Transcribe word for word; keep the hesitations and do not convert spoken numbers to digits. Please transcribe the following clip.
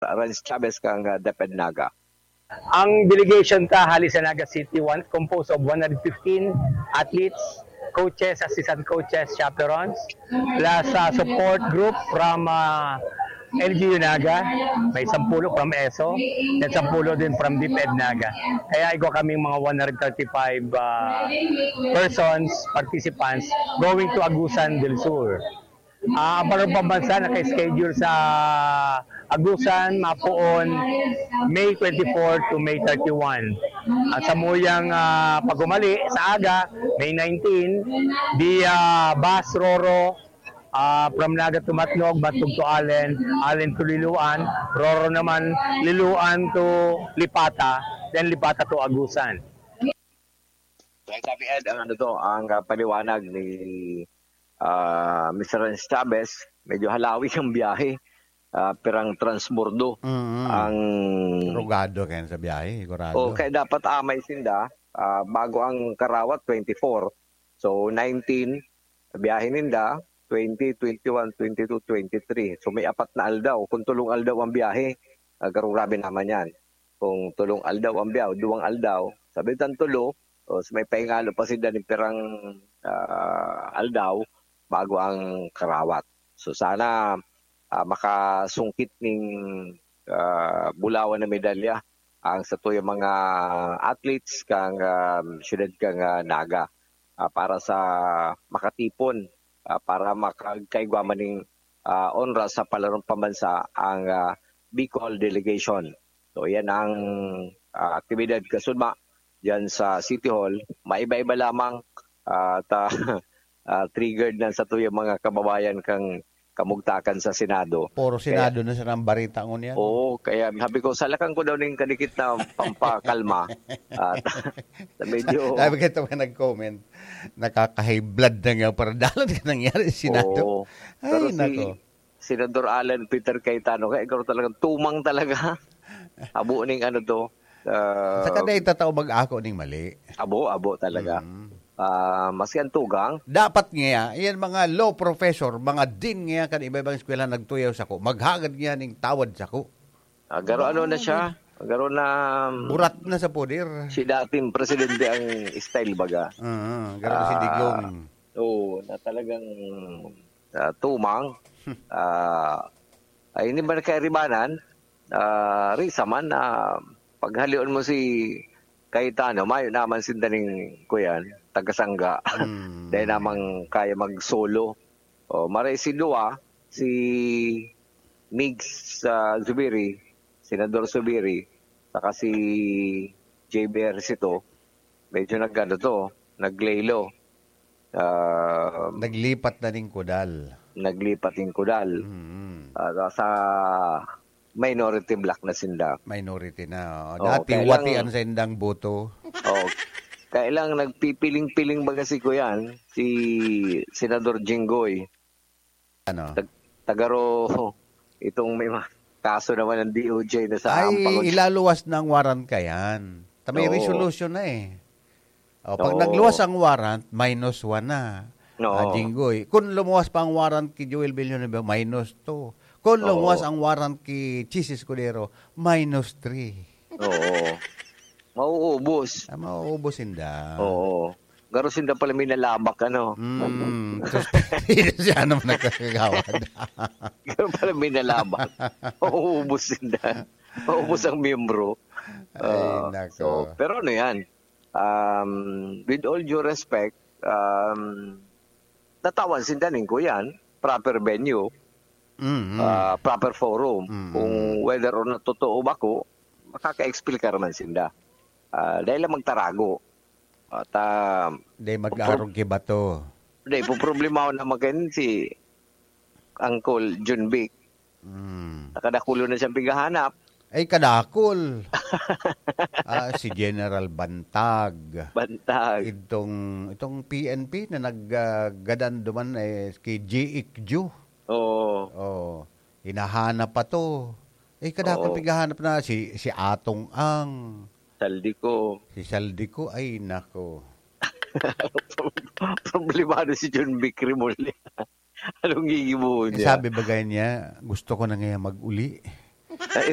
Renz Chavez kan, ah, DepEd Naga. Ang delegation ta hali sa Naga City, one, composed of one hundred fifteen athletes, coaches, assistant coaches, chaperones, plus, ah, support group from, ah, L G U Naga, may sampulo from ESO, then sampulo din from DepEd Naga. Kaya igwa kaming mga one hundred thirty-five, ah, persons, participants, going to Agusan del Sur. Ah, ang Palarong Pambansa naka-schedule sa Agusan, mapoon May twenty-four to May thirty-one. At sa muyang, ah, pag-umali, sa aga, May nineteen, via bus, Roro, ah, from Naga to Matnog, Matnog to Allen, Allen to Liloan, Roro naman, Liloan to Lipata, then Lipata to Agusan. Kaya sabi, Ed, ang ano to, ang, ah, paliwanag ni, ah, Mister Renz Chavez, medyo halawi ang biyahe. Ah, pirang transbordo Mm. ang Rugado kayan sa biyahe, sigurado. Oh, kaya dapat amay sinda, ah, bago ang Karawat, twenty-four. So, nineteen, biyahe ninda, twenty, twenty-one, twenty-two, twenty-three. So, may apat na aldaw. Kung tulong aldaw ang biyahe, ah, garo grabe naman yan. Kung tulong aldaw ang biyahe, duwang aldaw, sabi tan tulo, o, so may paingalo pa sinda nin pirang, ah, aldaw bago ang Karawat. So, sana, ah, makasungkit ning, ah, bulawan na medalya ang satuyang mga athletes kan, ah, siyudad kan, ah, Naga, ah, para sa makatipon, ah, para makagkaigwa man ning, ah, onra sa palarong pambansa ang, ah, Bicol delegation. So, yan ang, ah, aktibidad kasudma diyan sa City Hall. Maiba-iba lamang, ah, ta ah, triggered na satuyang mga kababayan kan kamugtakan sa Senado. Puro Kaya Senado na sana ang barita ngunyan. Oo, kaya sabi ko, salakan ko daw ning kadikit na pampakalma. At medyo Sabi ko, ito may nag-comment, "Nakaka-high blood na nga paradalan ka nangyari sa Senado." Oo. Ay, Pero si nako. Senador Alan Peter Cayetano, kaya ikaw talagang tumang talaga. Abo ning ano to, ah, Saka dahil tatao mag-ako ning mali. Abo, abo talaga. Mm. Ah, maski ang tugang. Dapat nga, yan mga law professor, mga dean nga kan iba-ibang eskwela nagtuyaw sako, maghagad nga ning tawad sako. Ah, garo ano na siya? Garo na, um, Burat na sa poder. Si dating presidente ang style baga. Ah, garo na si Ah, Digong. Oo, na talagang, ah, tumang. Ah, ay, hindi ba nagkairibanan? Ah, risa man na paghalion mo si Cayetano, mayo naman sinda ning kuyan, tagasangga. Mm. Dahil namang kaya mag-solo. O, maray si Dua, si Migs, ah, Zubiri, Senador Zubiri, saka si J B Ejercito, medyo nag-ano to, nag-lay low. Ah, Naglipat na ning kudal. Naglipat ning kudal. Mm. Ah, sa minority bloc na sinda. Minority na, oo. Oo, Dati, kaya wati lang ang saindang boto. Oo. Kaya lang nagpipiling-piling baga si kuyan, si Senador Jinggoy. Ano? Tag-, tagaro, itong may mga kaso naman ng D O J na sa Ay, ampang. Ilaluwas na ang warrant kayan. Ta may Oo. resolution na eh. O, pag Oo. nagluwas ang warrant, minus one na. Oo. Ah, Jinggoy. Kung lumuwas pa ang warrant kay Joel Villanueva, minus two. Kung Oo. lumuwas ang warrant kay Chiz Escudero, minus three. Oo. Mauubos. Ah, mauubos sinda. Oo. Garo sinda pala minalabak, ano? Mm, sus, siya naman nagkakagawad. Garo pala minalabak. Mauubos sinda. Mauubos ang miyembro. Ay, Ah, nako. so, pero ano yan? Um, with all due respect, um, natawan sinda ning kuyan, proper venue, Mm, mm. ah, proper forum. Mm, Kung mm. whether or not totoo ba ko, makaka-explain ka naman sinda. Ah, dahil lang magtarago. At, ah, Di mag-arog ki bato. Di, po problema ako naman kayo si Uncle John Vic. Mm. Nakadakulo na siyang pighahanap. Ay, kadakol. Ah, si General Bantag. Bantag. Itong, itong P N P na nag, ah, gadan duman, eh, kay G X Ju. Oo. Oo. Hinahanap pa to. Eh, kadakol Oo. pighahanap na si, si Atong Ang. Saldi ko. Si Saldi ko. Ay, nako. Problemado si John Vic Remulla. Anong gigibohon Eh, niya? sabi bagay niya, "Gusto ko na ngayon mag-uli." Ay,